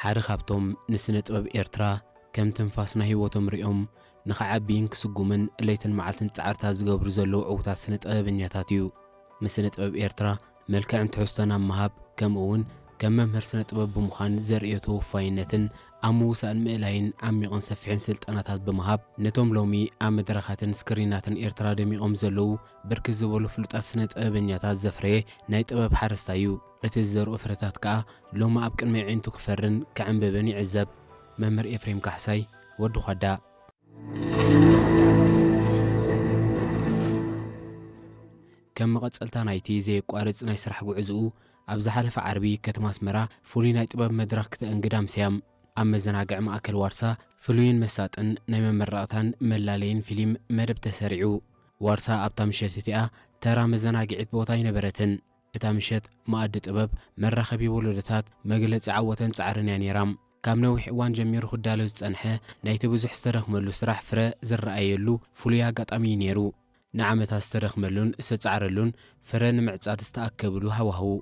ሓደ ካብቶም ንስነ ጥበብ ኤርትራ ከም ትንፋስ ናይ ህይወቶም ሪኦም ንኽዓብይን ክስጉምን ለይትን መዓልትን ጻዕርታት ዝገብሩ ዘለዉ ዕዉታት ስነ ጥበበኛታት እዩ። ንስነ ጥበብ ኤርትራ መልክዕን ትሕዝቶን ኣብ ምሃብ፣ ከምኡ እውን ከም መምህር ስነ ጥበብ ብምዃን ዘርእዮ ተወፋይነትን ኣብ ምውሳእን ምእላይን ዓሚቕን ሰፊሕን ስልጠናታት ብምሃብ፣ ነቶም ሎሚ ኣብ መድረኻትን ስክሪናትን ኤርትራ ደሚቖም ዘለዉ ብርክት ዝበሉ ፍሉጣት ስነ ጥበበኛታት ዘፍረየ ናይ ጥበብ ሓረስታይ እዩ። እቲ ዝዘርኦ ፍረታት ከኣ ሎሚ ኣብ ቅድሚ ኣዒንቱ ክፈርን ክዕንብብን ይዕዘብ። መምህር ኤፍሬም ካሕሳይ፣ ወዲ ኳዳ። ከም መቐጸልታ ናይቲ ዘየቋርጽ ናይ ስራሕ ጉዕዝኡ፣ ኣብ ዝሓለፈ ዓርቢ ከተማ ኣስመራ ፍሉይ ናይ ጥበብ መድረኽ ክተእንግድ ኣምስያም። ኣብ መዘናግዒ ማእከል ዋርሳ ፍሉይን መሳጥን ናይ መመረቕታን መላለይን ፊልም መደብ ተሰሪዑ። ዋርሳ ኣብታ ምሸት እቲኣ ተራ መዘናግዒት ቦታ ኣይነበረትን። እታ ምሸት መኣዲ ጥበብ፣ መራኸቢ ወለዶታት፣ መግለጺ ዓወትን ጻዕርን እያ ነይራ። ካብ ነዊሕ እዋን ጀሚሩ ክዳሎ ዝጸንሐ ናይቲ ብዙሕ ዝተደኽመሉ ስራሕ ፍረ ዝረኣየሉ ፍሉይ ኣጋጣሚ እዩ ነይሩ። ንዓመታት ዝተደኽመሉን ዝተጻዕረሉን ፍረ ንምዕጻድ ዝተኣከብሉ ሃዋህው።